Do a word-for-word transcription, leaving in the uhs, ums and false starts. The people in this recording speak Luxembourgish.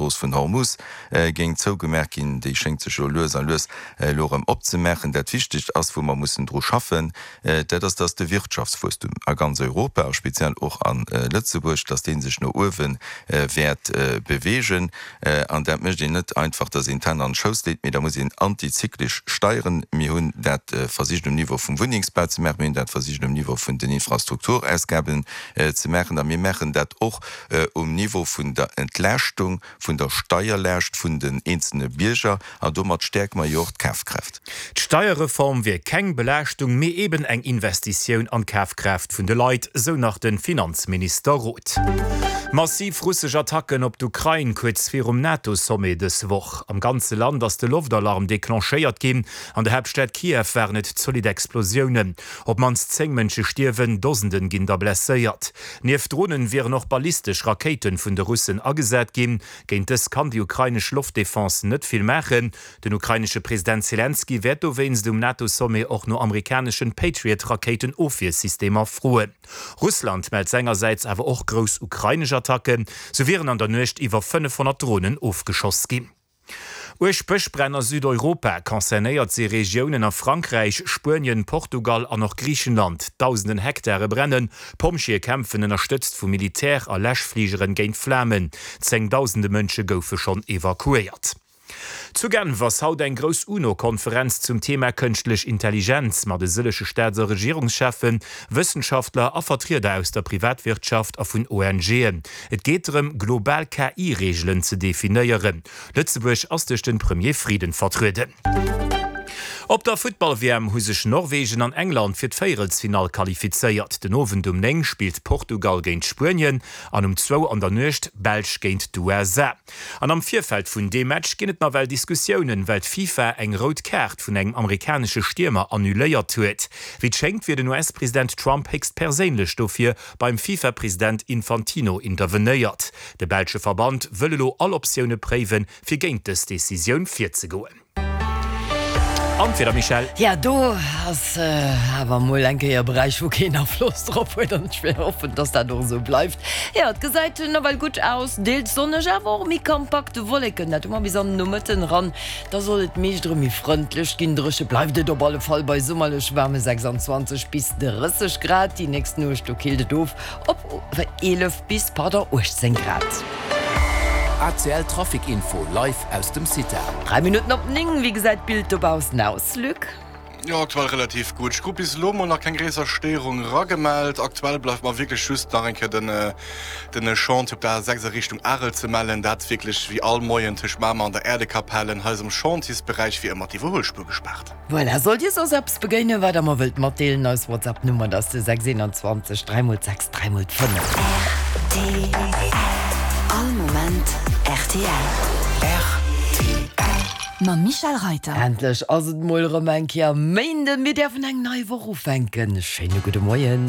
d'Strooss vun Hormus géing zougemaach ginn. Déi schéngt sech jo lues a lues elo erëm opzemaachen. Dat Wichtegt ass, wou mer mussen dru schaffen, dat ass, dass de Wirtschaftswuesstum a ganz Europa a speziell och a Lëtzebuerg, dass dee sech no uewe wäert beweegen. An dat mécht een net einfach, dass een d'Hänn an de Schouss leet, mee da muss een antizyklesch steieren. Mir hunn dat versicht um Niveau vum Wunnengsbau ze maachen, mir hunn dat versicht um Niveau vun den Infrastrukturausgaben ze maachen a mir maachen dat och um Niveau vun der Entlaaschtung vun der Steierlaascht vun den eenzelne Bierger an domat stäerke mer jo och d'Kafkraaft. D'Steierreform wier keng Belaaschtung, mee eben eng Investitioun an d'Kafkraaft vun de Leit, sou nach de Finanzminister Roth. Massiv russesch Attacken op d'Ukrain kuerz virum NATO-Sommet dës Woch. Am ganze Land ass de Loftalarm declenchéiert ginn. An der Haaptstad Kiew waren et zolidd Explosiounen. Op d'mannst zéng Mënsche stierwen, Dosenden ginn der blesséiert. Nieft Dronen wieren och ballistesch Rakéite vun de Russen agesat ginn. Géint dës kann déi ukrainesch Loftdefense net vill maachen. Den ukrainesche President Selenskyj wäert dowéinst um NATO-Sommet och no amerikaneschen Patriot-Rakéitenofwiersystemer froen. Russland mellt sengersäits awer och grouss ukrainesch Attacken, sou wieren an der Nuecht iwwer fënnefhonnert Dronen ofgeschoss ginn. Uerg Bëschbränn a Südeuropa, Concernéiert si Regiounen a Frankräich, Spuenien, Portugal an och Griichenland. Dausenden Hektare brennen, Pompjeeë kämpfen ënnerstëtzt vu Militär a Läschfligeren géint d'Flamen. Zéngdausende Mënsche goufe schonn evakuéiert. Zu Genf ass haut eng grouss UNO-Konferenz zum Thema Kënschtlech Intelligenz mat e sëllege Staats a Regierungscheffen, Wëssenschaftler a Vertrieder aus der Privatwirtschaft a vun ONGen. Et geet drëm, global K I-Reegelen ze definéieren. Lëtzebuerg ass duerch de Premier Frieden vertrueden. Op der Futtball-W M hu sech Norwegen an England fir d'Véierelsfinall qualifizéiert. Den Owend um néng spillt Portugal géint Spuenien an um zwou an der Nuecht d'Belsch géint d'U S A. An am Virfeld vun deem Match ginn et nawell Diskussiounen, well d'FIFA eng rout Kaart vun engem amerikanesche Stiermer annuléiert huet. Wéi et schéngt, wier den U S-President Trump héchstperséinlech dofir beim FIFA-President Infantino intervenéiert. De belsche Verband wëll elo all Optioune préiwen, fir géint dës Decisioun virzegoen. An d'Wieder, Michèle? Ja, do ass awer mol eng Kéier e Beräich, wou keen Afloss drop huet an ech wéll hoffen, dass dat och esou bleift. Jo, et gesäit nawell gutt aus, deels sonneg, awer och méi kompakte Wolleken, dat hu mer bis an den Nomëtten eran. Da soll et meescht erëm méi frëndlech ginn, dréche bleift et op alle Fall bei summerlech waarme sechsandzwanzeg bis drësseg Grad. Déi nächst Nuecht, do killt et of op eelef bis, pardon, uechtzéng Grad. A C L Trafic Info live aus dem CITA. Dräi Minutten op néng, wéi gesäit d'Bild dobaussen aus, Luc? Jo, aktuell relativ gutt. Ech krut bis elo mol nach keng gréisser Stéierung eragemellt. Aktuell bleift mer wierklech just nach eng Kéier den den Chantier op der A sechs a Richtung Arel ze mellen. Dat wierklech wéi all Moien tëscht Mamer an der Äerdekapell. Hei ass am Chantiersberäich wéi ëmmer d'Iwwerhuelspuer gespaart. Voilà, sollt Dir soss eppes begéinen, wat Der mer wëllt matdeelen, eis WhatsApp-Nummer, dat ass de sechs eenanzwanzeg dräi mol sechs dräi mol fënnef. R T L. All Moment R T L. R T L. Mam Michèle Reyter. Endlech ass et mol erëm eng Kéier Méinden, mir däerfen eng nei Woch ufänken. Schéine gudde Moien.